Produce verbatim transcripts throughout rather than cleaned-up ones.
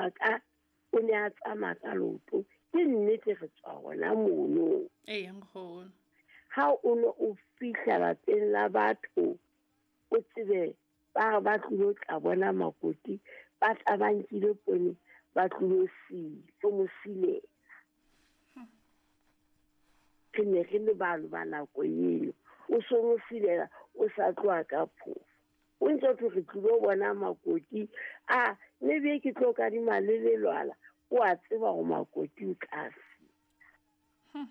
Ka o ne a tsamaya ka leoto, ke nnete re tswa hona mono. Ee, nkgono. Ha o ne o fihla lapeng la batho, o tsebe ba re ba tlilo tla bona makoti, ba tla ba nkile poone, ba tlilo sila, mo silela. Re ne re le balo ba nako eno. O so mo silela, o sa tloha ka phofo. O ntse o thwe re tlilo bona makoti, a maybe ke tlo kadima le lelwala, o a tseba hore makoti o tla sila.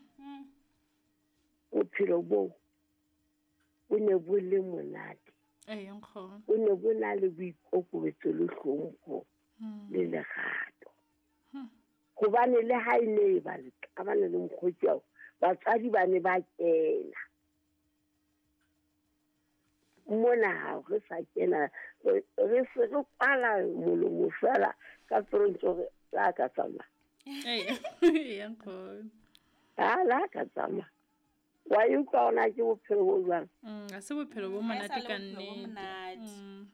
Bophelo boo bo ne bo le monate. Ee, nkgono. Bo ne bo na le boikokobetso le hlompho le lerato. Hobane le ha e ne e ba le qabane le mokgotsi ao, batswadi ba ne ba kena. Mona ha re sa kena, re se re kwala molomo fela ka tsontso re la ka tsamaya. Ee, ee, nkgono. Ha la ka tsamaya. Wa e utlwa hona ke bophelo bo jwang? Mm, ha se bophelo bo monate ka nnete.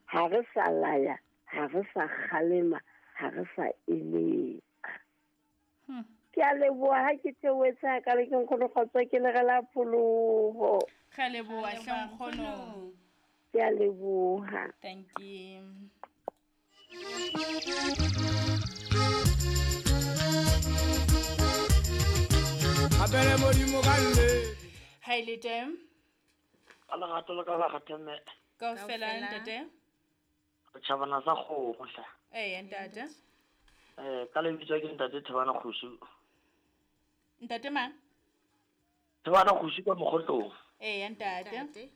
Ha re sa laya, ha re sa kgalema, ha re sa eletsa. Ke a leboha ha ke theohetse ha ka le ke nkgono kgotso ke le re la pholoho. Re a leboha hle nkgono. Ke a leboha. Thank you. Abele modimo ka nnete. Ha ile teng? Ka lerato le ka la kgathame. Kaofela ntate. Re tjhabana sa kgomo hle. Ee, ntate. Eh, ka lebitso ke ntate Thebana Kgosu. Ntate mang? Thebana Kgosu ka Mokgotlong. Ee, ntate.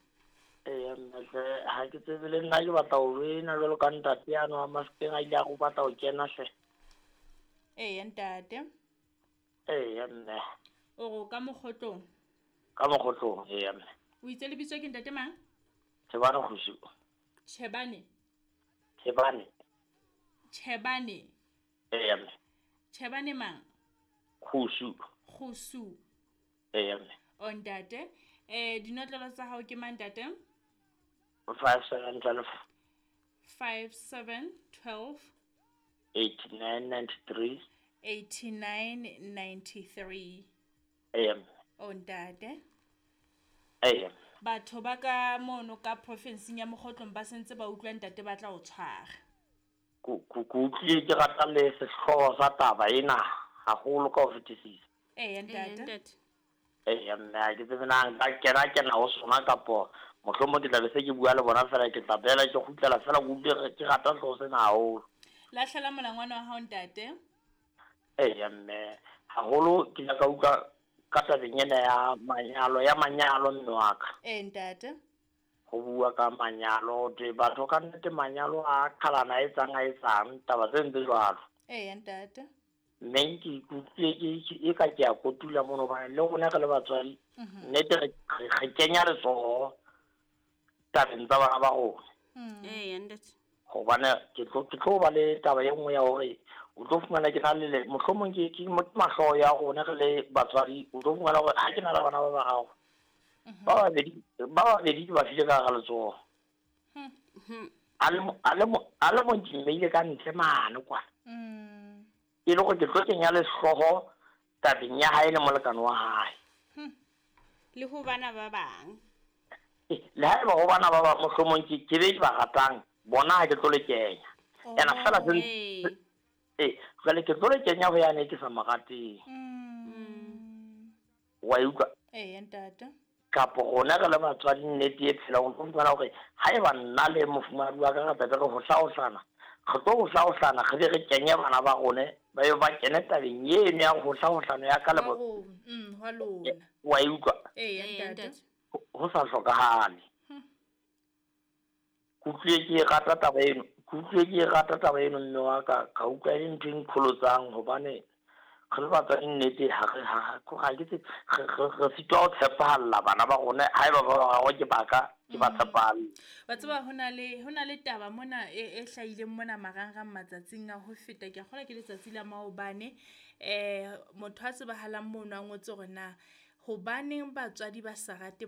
Ee, ntate, ha ke tsebe le nna ke batla ho wena jwalo ka ntate ya no Mafikeng a ile a go batla ho kena hle. Ee, ntate. Ee, mme. O go ka Mokgotlong? Ka Mokgotlong, ee, mme. O itse lebitso ke ntate mang? Thebana Kgosu. Chebane. Thebane. Chebane. Ee, mme. Chebane mang? Kgosu. Kgosu. Ee, mme. O ntate, eh dinotlolo tsa hao ke mang ntate? five seven twelve. five seven twelve. eighty-nine ninety-three. eighty-nine ninety-three. Ee, mme. O ntate. Ee. Batho ba ka mono ka profinsing ya Mokgotlong ba sentse ba utlwa ntate ba tla o tshwara. Ku ku utlwile ke rata le sehlooho sa taba ena haholo ka ho fetisisa. Ee, ntate. Ee, mme ha ke tsebe na nka kena kena ho sona kapo mohlomong ke tla be se ke bua le bona fela ke tla bela ke kgutlela fela ke utlwe ke rata sehlooho sena haholo. Lahlela molangwana wa hao ntate. Ee, mme haholo ke ile ka utlwa ka tabeng ena ya manyalo ya manyalo mme wa ka. Ee, ntate. Ho bua ka manyalo te batho ka nnete manyalo a qhalana a etsang a etsang taba tse ntse jwalo. Ee, ntate. Mme ke ikutlwe ke e ka ke a kotula mono hobane le rona re le batswadi nnete re re kenya letsoho tabeng tsa bana ba rona. Ee, ntate. Hobane ke tlo ke tlo ba le taba e nngwe ya hore o tlo fumana ke na le mohlomong ke ke mahlo ya rona re le batswadi o tlo fumana hore ha ke na le bana ba bararo ba babedi ba babedi ke ba file ka hara letsoho. A le a le a le mong ke mmeile ka ntle mane kwa. E le hore ke tlo kenya lehlooho tabeng ya hae le molekane wa hae. Le ho bana ba bang. Le haeba ho bana ba bang mohlomong ke ke be ke ba ratang bona ha ke tlo le kenya. Ena fela se eh jwale ke tlo le kenya ho yane ke sa mo rateng. Wa e utlwa? Ee, ntate. Kapo rona re le batswadi nnete e phelang o tlo fumana hore haeba nna le mofumahadi wa ka re tla be re hohlahohlana, re tlo hohlahohlana re be re kenye bana ba rona ba yo ba kene tabeng eno ya hohlahohlano ya ka le bo mm hwa lona. Wa e utlwa? Ee, ntate. Ho sa hlokahale. Ke utlwile ke rata taba eno, ke utlwile ke rata taba eno mme wa ka, ka utlwa e le ntho e nqholotsang hobane re le batswadi nnete ha re ha ha ke tse re sitwa ho tshepahalla bana ba rona haeba ba bararo ke baka ke ba tshepahalle. Wa tseba ho na le ho na le taba mona e e hlahileng mona marangrang matsatsing a ho feta ke a kgolwa ke letsatsi la maobane eh motho a tsebahalang mono a ngotse hore na hobaneng batswadi ba sa rate